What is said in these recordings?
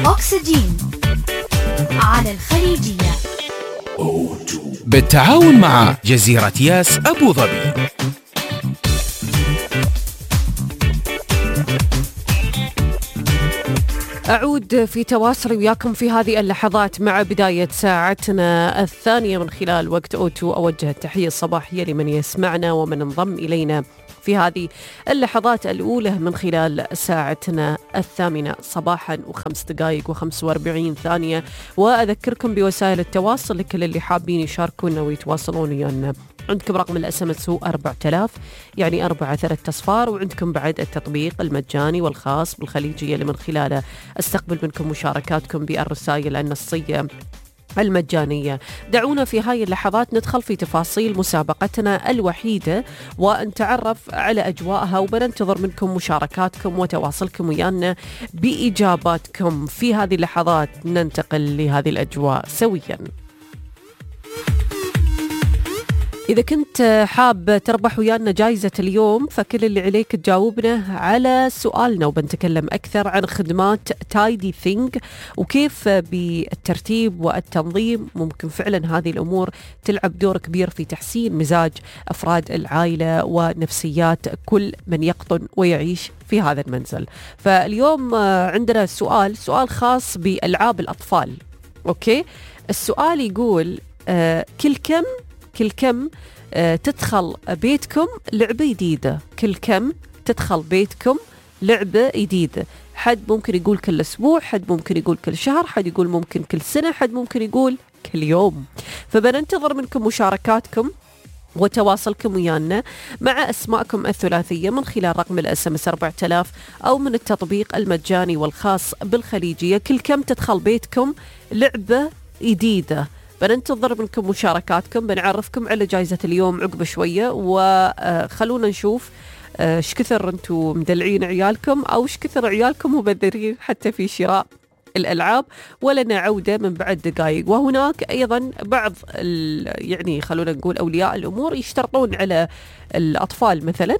أكسجين على الخليجية بالتعاون مع جزيرة ياس أبو ظبي. أعود في تواصلي وياكم في هذه اللحظات مع بداية ساعتنا الثانية من خلال وقت أوتو. أوجه التحية الصباحية لمن يسمعنا ومن انضم إلينا في هذه اللحظات الأولى من خلال ساعتنا الثامنة صباحا و5 دقائق و45 ثانية. وأذكركم بوسائل التواصل لكل اللي حابين يشاركونا ويتواصلون ويانا. عندكم رقم الSMS هو 4000 يعني 4 3 وعندكم بعد التطبيق المجاني والخاص بالخليجية اللي من خلاله استقبل منكم مشاركاتكم بالرسائل النصية المجانية. دعونا في هاي اللحظات ندخل في تفاصيل مسابقتنا الوحيدة ونتعرف على أجواءها، وبننتظر منكم مشاركاتكم وتواصلكم ويانا بإجاباتكم. في هذه اللحظات ننتقل لهذه الأجواء سويا. إذا كنت حاب تربح ويانا جائزة اليوم فكل اللي عليك تجاوبنا على سؤالنا، وبنتكلم أكثر عن خدمات تايدي ثينج وكيف بالترتيب والتنظيم ممكن فعلا هذه الأمور تلعب دور كبير في تحسين مزاج أفراد العائلة ونفسيات كل من يقطن ويعيش في هذا المنزل. فاليوم عندنا سؤال خاص بألعاب الأطفال. أوكي، السؤال يقول كل كم تدخل بيتكم لعبة جديدة؟ كل كم تدخل بيتكم لعبة جديدة؟ حد ممكن يقول كل أسبوع، حد ممكن يقول كل شهر، حد يقول ممكن كل سنة، حد ممكن يقول كل يوم. فبننتظر منكم مشاركاتكم وتواصلكم ويانا مع أسماءكم الثلاثية من خلال رقم الSMS 4000 أو من التطبيق المجاني والخاص بالخليجية. كل كم تدخل بيتكم لعبة جديدة؟ بننتظر منكم مشاركاتكم. بنعرفكم على جائزة اليوم عقب شوية، وخلونا نشوف ايش كثر انتم مدلعين عيالكم او ايش كثر عيالكم مبذرين حتى في شراء الألعاب. ولنا عودة من بعد دقائق. وهناك أيضا بعض يعني خلونا نقول أولياء الأمور يشترطون على الأطفال مثلا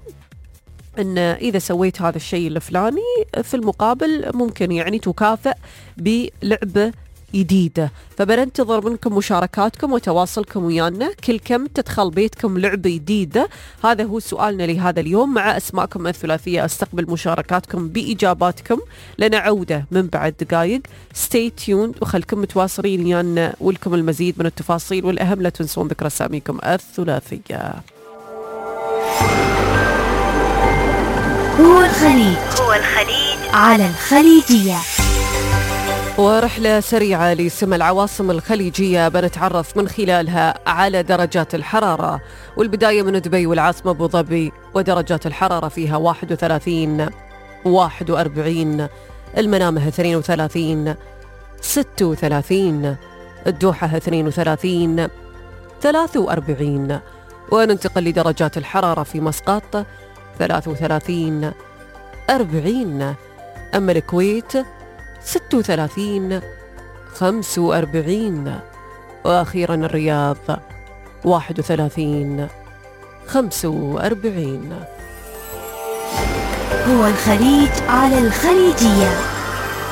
أن إذا سويت هذا الشيء الفلاني في المقابل ممكن يعني تكافئ بلعبة جديدة. فبننتظر منكم مشاركاتكم وتواصلكم ويانا. كل كم تدخل بيتكم لعبة جديدة؟ هذا هو سؤالنا لهذا اليوم مع أسماءكم الثلاثية. استقبل مشاركاتكم بإجاباتكم. لنا عودة من بعد دقائق. stay tuned وخلكم متواصلين ويانا ولكم المزيد من التفاصيل، والأهم لا تنسون ذكر أساميكم الثلاثية. هو الخليج على الخليجية. ورحلة سريعة لسمى العواصم الخليجية بنتعرف من خلالها على درجات الحرارة، والبداية من دبي والعاصمة أبو ظبي ودرجات الحرارة فيها 31 41، المنامة 32 36، الدوحة 32 43. وننتقل لدرجات الحرارة في مسقط 33 40، أما الكويت 36 45، وأخيرا الرياض 31 45. هو الخليج على الخليجية.